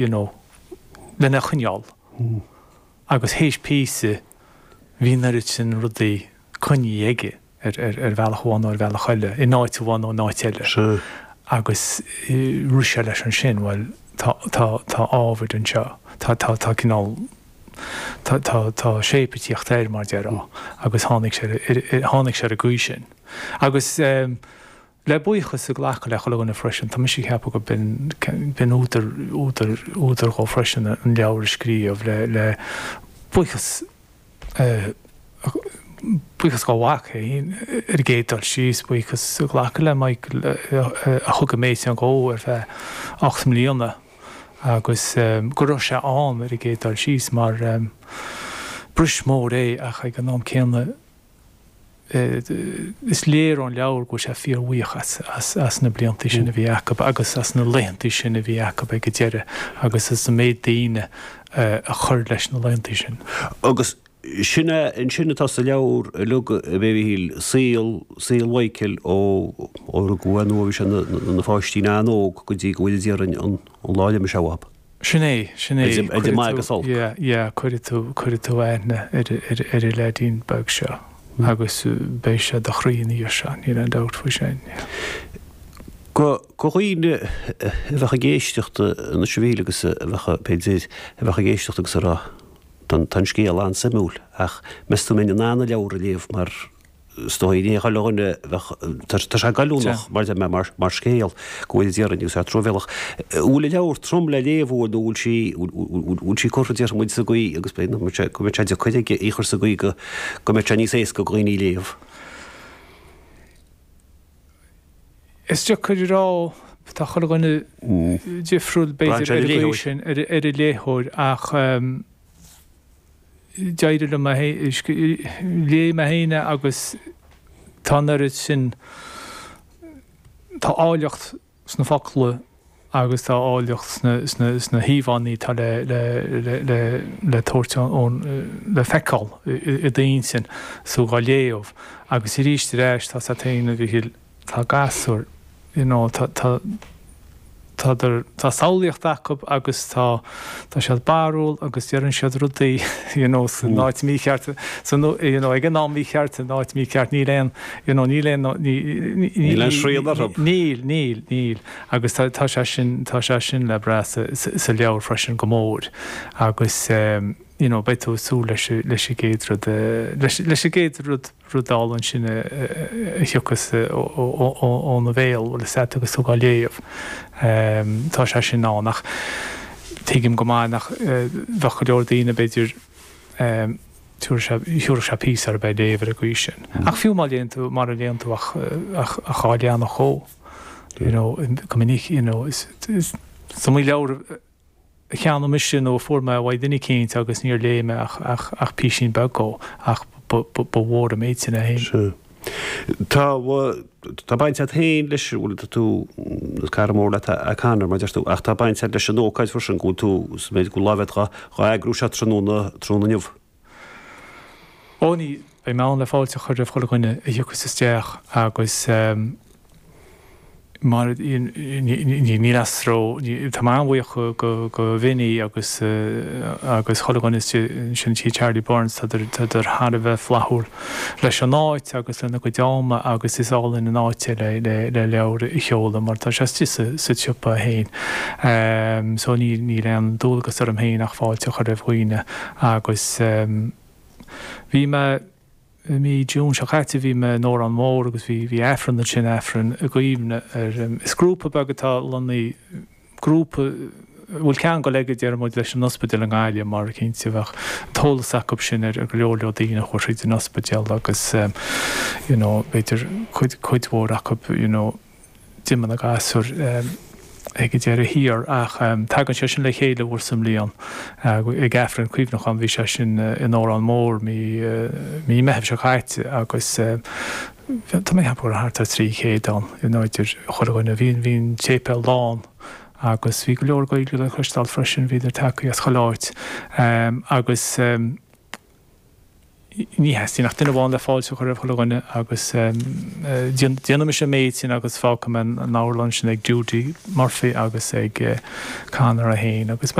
You know, lena choinneáil. Agus théis píosa, bhí an oiread sin rudaí coinnithe aige ar, ar, ar bhealach amháin nó ar bhealach eile, in áit amháin nó in áit eile. Sea. Agus rith sé leis ansin, bhuel, tá, tá, tá ábhar anseo, tá, tá, tá cineál, tá, tá, tá shape ag tíocht air, mar déarfá. Agus tháinig sé ar, ar, tháinig sé ar an gcaoi sin. Agus eh. Le buíochas a ghlacadh le chuile dhuine freisin, tá mise ag ceapadh go b'in, b'in údar, údar, údar dhó freisin an leabhar a scríobh, le, le buíochas, buíochas dhá mhac féin ar an gcéad dul síos, buíochas a ghlacadh le Michael a thug an méid sin dhó ar feadh 8 mbliana agus go raibh sé ann ar an gcéad dul síos mar bris mór é ach ag an am céanna, Is léir ón leabhar go bhfuil sé fíorbhuíoch as na blianta sin a bhí acu agus as na laethanta sin a bhí acu ag an deireadh agus as an méid daoine a chuir leis na laethanta sin. Agus sin é ansin atá sa leabhar uilig, a Mhíchíl, saol, saol Mhichael ó rugadh é nó ó bhí sé ina pháistín an-óg go dtí go bhfuil déarfainn an lá a d'imigh sé uathu. Sin é, sin é. Idir maith agus olc. Yeah, yeah, cuirfidh tú, cuirfidh tú aithne ar, ar, ar an leaidín beag seo agus beidh sé i do chroí ina dhiaidh seo, níl aon dabht faoi sin, yeah. Go, go dhaoine a bheadh ag éisteacht anois a Mhíchíl agus a bheadh, b'fhéidir, a bheadh ag éisteacht agus ag rá, tá an scéal an-suimiúil ach meas tú an mbeinn in ann an leabhar a léamh mar Is dóigh ní chuile dhuine a bheadh, tá sé goilliúnach mar deir mé, mar scéal, go bhfuil déarfainn agus é truamhéalach. An bhfuil an leabhar trom le léamh nó an bhfuil sí, bhfuil sí curtha déarfaidh muid sa gcaoi agus go mbeidh sé, go mbeidh sé deacair aige í a chur sa gcaoi go, go mbeidh sé níos éasca do dhaoine í a léamh. Is deacair a rá, tá chuile dhuine difriúil b'fhéidir ar an gcaoi sin, ar an léitheoir ach, D'éirigh liom é, léigh mé féin é agus tá an oiread sin, tá áilleacht sna focla agus tá áilleacht sna híomhánna atá le tabhairt ón, le feiceáil i d'intinn 's tú dhá léamh. Agus arís ar ais, tá 's a't féin, a Mhichíl, Tá gasúir, you know, tá, tá, tádar, tá samhlaíocht acu agus tá, tá siad barrúil agus deireann siad rudaí, you know, san áit mícheart, san, you know, ag an am mícheart, san áit mícheart, níl aon, you know, níl aon, ní, ní, Níl aon srian orthu. Níl, níl, níl. Agus tá, tá sé sin, tá sé sin le brath sa, sa, sa leabhar freisin go mór. Agus, you know, beidh tú ag súil leis, leis an gcéad rud, leis, leis an gcéad rud, rud álainn sin a thiocfas óna bhéal, bhfuil fhios a't, agus tú dhá léamh. Tá sé sin ann ach tuigim go maith nach bheadh go leor daoine, b'fhéidir, thiúrfadh sé píosa orthu é a léamh ar an gcaoi sin. Ach fiú má léann tú, mara léann tú ach dhá leathanach dhó, you know, go minic, you know, is iomaí leabhar, a cheannaigh mise nó a fuair mé uaidh duine eicínt agus níor léigh mé ach ach písín beag dhó ach ba ba mhór an méid sin é féin. Sea. Tá, tá baint agat féin leis, bhuel tá tú, is cara mór leat é Conor mar deir tú, ach tá baint agat leis an ócáid freisin go bhfuil tú, sa méid go bhfuil lámh agat dhá, dhá eagrú seo tráthnóna, tráthnóna inniu. Ó ní, beidh mé ann le fáilte a chur roimh chuile dhuine a thiocfas isteach agus mar níl aon stró, tá mé an-bhuíoch go Vinny agus agus chuile dhuine istigh ansin i dTigh Charlie Byrne's, tádar thar a bheith flaithiúil leis an áit agus lena gcuid ama agus is álainn an áit é le leabhar a sheoladh mar tá sé istigh sa tsiopa féin. So níl aon dualgas orm féin ach fáilte a chur roimh dhaoine agus bhí mé I mí June seo caite bhí mé in Órán Mór agus bhí bhí Aifreann ansin, Aifreann i gcuimhne ar, is grúpa beag atá lonnaithe, grúpa a bhfuil ceangal aige déarfaidh muid leis an ospidéal i nGaillimh mar cinnte bheadh an t-eolas acu sin ar go leor leor daoine a chuaigh thríd an ospidéal agus you know b'fhéidir cuid cuid mhór acu you know d'imigh na gasúir ag an deireadh thiar ach tagann sé sin le chéile uair sa mbliain ag Aifreann Cuimhneacháin. Bhí sé sin in Órán Mór mí mí Meitheamh seo caite agus tá mé ag ceapadh go raibh thart ar 300 ann you know idir chuile dhuine. Bhí bhí an séipéal lán agus bhí go leor Gaeilge le cloisteáil freisin, bhíodar tagtha as chuile áit agus. Ní theastaíonn ach duine amháin le fáilte a chur roimh chuile dhuine agus déanfaidh mise an méid sin agus fágfaidh mé an amharclann sin ag Judy Murphy agus ag Conor é féin agus.